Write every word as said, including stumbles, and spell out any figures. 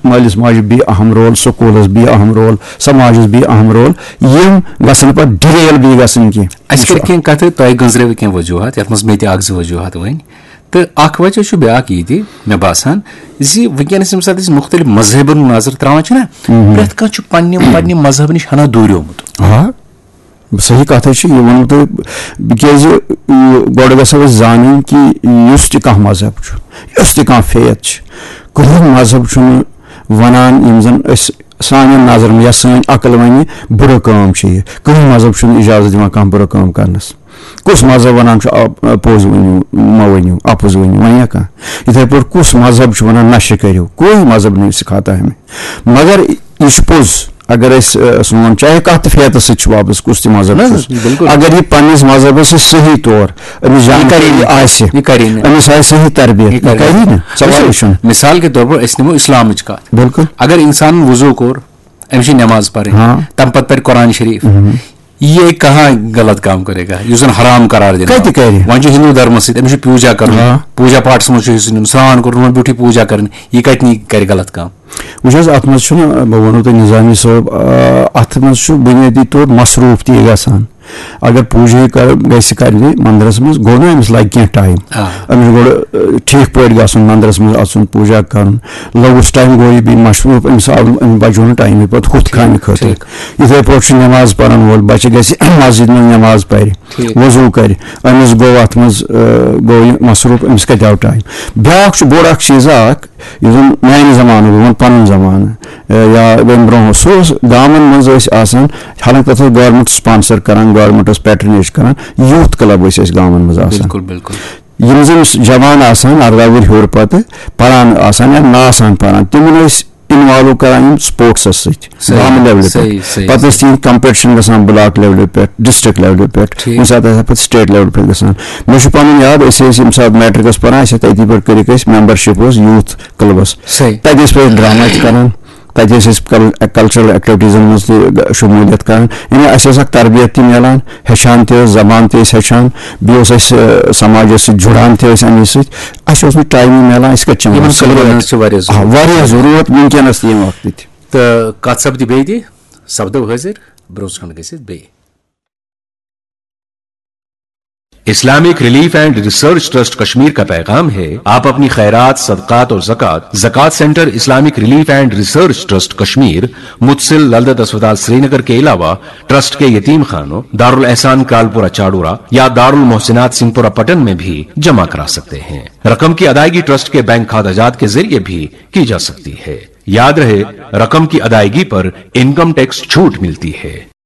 مٲلِس ماجہِ بیٚیہِ اہم رول، سکوٗلَس بیٚیہِ اہم رول، سماجَس بیٚیہِ اہم رول، یِم گژھن پَتہٕ ڈِریل بیٚیہِ گژھٕنۍ کینٛہہ۔ اَسہِ کٔر کینٛہہ کَتھٕ، تۄہہِ گٔنٛزرٲوٕ کینٛہہ وجوٗہات، یَتھ منٛز مےٚ تہِ اَکھ زٕ وجوٗہات ؤنۍ۔ تہٕ اَکھ وجہ چھُ بیٛاکھ یہِ تہِ، مےٚ باسان، زِ وٕنکیٚنَس ییٚمہِ ساتہٕ أسۍ مُختٔلِف مذہبَن نظر ترٛاوان چھِنہ، پرٛٮ۪تھ کانٛہہ چھُ پنٛنہِ پنٛنہِ مذہبہٕ نِش ہنا دوٗریومُت۔ آ، صحیح کَتھ حظ چھِ، یہِ ووٚنوُ تۄہہِ، کیٛازِ، یہِ، گۄڈٕ گژھو أسۍ زانٕنۍ کہِ یُس تہِ کانٛہہ مذہب چھُ، یُس تہِ کانٛہہ فیتھ چھِ، کٕہٕنۍ مذہب چھُنہٕ وَنان، یِم زَن أسۍ، سانٮ۪ن نظرَن یا سٲنۍ عقل وَنہِ، بُرٕ کٲم چھِ یہِ۔ کٕہٕنۍ مذہب چھُنہٕ اِجازت دِوان کانٛہہ بُرٕ کٲم کَرنَس۔ کُس مذہب وَنان چھُ، آ، پوٚز ؤنِو، مہ ؤنِو، اَپُز ؤنِو، وَنہِ کانٛہہ؟ یِتھَے پٲٹھۍ کُس مذہب چھُ وَنان نشہٕ کٔرِو؟ کوئی مذہب نہیں سکھاتا ہے ہمیں۔ مگر یہِ چھُ پوٚز، اگر أسۍ، آ، سون چاہے کَتھ تہِ فیتَس سۭتۍ چھُ وابستہٕ، کُس تہِ مذہب نہ، چھُس، بِلکُل۔ اگر یہِ پنٛنِس مذہبَس سۭتۍ صحیح طور أمِس یہِ کَرِ جانکٲری نہٕ۔ آسہِ، یہِ کَرِ نہٕ۔ أمِس آسہِ صحیح تربیت، یہِ یہِ کَرِ کَرِ نہٕ۔ نہٕ۔ سوالٕے وٕچھِو، چھُنہٕ۔ مِثال کے طور پر أسۍ نِمو اِسلامٕچ کَتھ۔ بِلکُل۔ اگر اِنسان وضوٗ کوٚر، أمِس چھِ نٮ۪ماز پَرٕنۍ، ہاں۔ تَمہِ پَتہٕ پَرِ قرآن شریٖف۔ ہُم۔ یہ کہاں غلط کام کرے گا؟ یُس زَن حرام قرار دِنہٕ کَتہِ آو۔ کَرِ؟ وۄنۍ چھُ ہِندوٗ دھرمَس سۭتۍ، أمِس چھُ پوٗجا کَرُن، آ۔ پوٗجا پاٹھَس منٛز چھُ حِصہٕ نیُن، سرٛان کوٚرُن، وۄنۍ بیوٗٹھٕے پوٗجا کَرٕنۍ، یہِ کَتہِ نی کَرِ غلط کام؟ وٕچھ حظ، اَتھ منٛز چھُنہٕ، بہٕ وَنو تۄہہِ نظامی صٲب، آ، اَتھ منٛز چھُ بُنیٲدی طور مصروٗف تہِ گژھان۔ اگر پوٗجا کَر-، گژھِ کَرنہِ مندرَس منٛز، گوٚو نہ أمِس لَگہِ کینٛہہ ٹایم۔ آ۔ أمِس چھُ گۄڈٕ، آ، ٹھیٖک پٲٹھۍ گژھُن، مندرَس منٛز اَژُن، پوٗجا کَرُن، لوٚگُس ٹایم، گوٚو یہِ بیٚیہِ مصروٗف، أمِس آو، أمِس بَچو نہٕ ٹایمٕے پَتہٕ ہُتھ کامہِ خٲطرٕ۔ ٹھیٖک۔ یِتھَے پٲٹھۍ چھُ نٮ۪ماز پَرَن وول بَچہِ گژھِ مسجد منٛز نٮ۪ماز پَرِ، ٹھیٖک۔ وضوٗ کَرِ، أمِس گوٚو اَتھ منٛز، آ، گوٚو یہِ مصروٗف، أمِس کَتہِ آو ٹایم؟ بیٛاکھ چھُ بوٚڑ اَکھ چیٖزا اَکھ، یُس زَن میٛانہِ زمانہٕ، بہٕ وَنہٕ پَنُن زمانہٕ، آ، یا ییٚمہِ برونٛہہ اوس، سُہ اوس گامَن منٛز ٲسۍ آسان، حالانکہ تَتھ اوس گورمٮ۪نٛٹ sponsor کَران، گورمٮ۪نٛٹ اوس patronage کَران، youth club ٲسۍ اَسہِ گامَن منٛز آسان۔ بِلکُل، بِلکُل۔ یِم زَن جوان آسان، اَرداہ وُہُر ہیوٚر پَتہٕ پَران آسان یا نہٕ آسان پَران، تِمَن ٲسۍ involve کَران یِم sports سۭتۍ، صحیح، گامہٕ level صحیح، پٮ۪ٹھ۔ صحیح، پَتہٕ ٲسۍ صحیح۔ تِہِنٛدۍ competition گژھان block level پٮ۪ٹھ، district level پٮ۪ٹھ، ٹھیٖک۔ کُنہِ ساتہٕ ہسا پَتہٕ state level پٮ۪ٹھ گژھان۔ مےٚ چھُ پَنُن یاد، أسۍ ٲسۍ ییٚمہِ ساتہٕ میٹرکَس پَران، اَسہِ ٲسۍ تٔتی پٮ۪ٹھ کٔرِکھ أسۍ membership اوس youth clubس۔ صحیح۔ تَتہِ ٲسۍ پَتہٕ ڈرٛاما تہِ کَران، تَتہِ ٲسۍ أسۍ کَل-، cultural activitiesن منٛز تہِ شموٗلیت کَران۔ یعنی اَسہِ ٲس اَکھ تربیت تہِ میلان، ہیٚچھان تہِ ٲس، زبان تہِ ٲسۍ ہیٚچھان، بیٚیہِ اوس اَسہِ، آ، سماجَس سۭتۍ جُڑان تہِ ٲسۍ اَمے سۭتۍ۔ اَسہِ اوس نہٕ ٹایمٕے میلان، أسۍ کَتہِ چھِ یِمَن یِوان؟ کَلچَرَن ہٕنٛز چھِ واریاہ آ، ضروٗرت۔ واریاہ ضروٗرت وٕنکیٚنَس تہِ ییٚمہِ وقتہٕ تہِ۔ تہٕ کَتھ سَپدِ بیٚیہِ تہِ، سَپدو حٲضِر، برونٛہہ کُن گٔژھِتھ بیٚیہِ۔ Islamic Relief and Research Trust Kashmir का पैगाम है, आप अपनी खैरात, सदकात और ज़कात ज़कात centre Islamic relief and research trust Kashmir, मुतसिल ललदत अस्पताल श्रीनगर के अलावा ट्रस्ट के यतीम खानों, दारुल एहसान कालपुरा चाडोरा या दारुल मोहसिनात सिंहपुरा पटन में भी जमा करा सकते हैं। रकम की अदायगी ट्रस्ट के बैंक खाता जात के जरिए भी की जा सकती है। याद रहे, रकम की अदायगी पर इनकम टैक्स छूट मिलती है।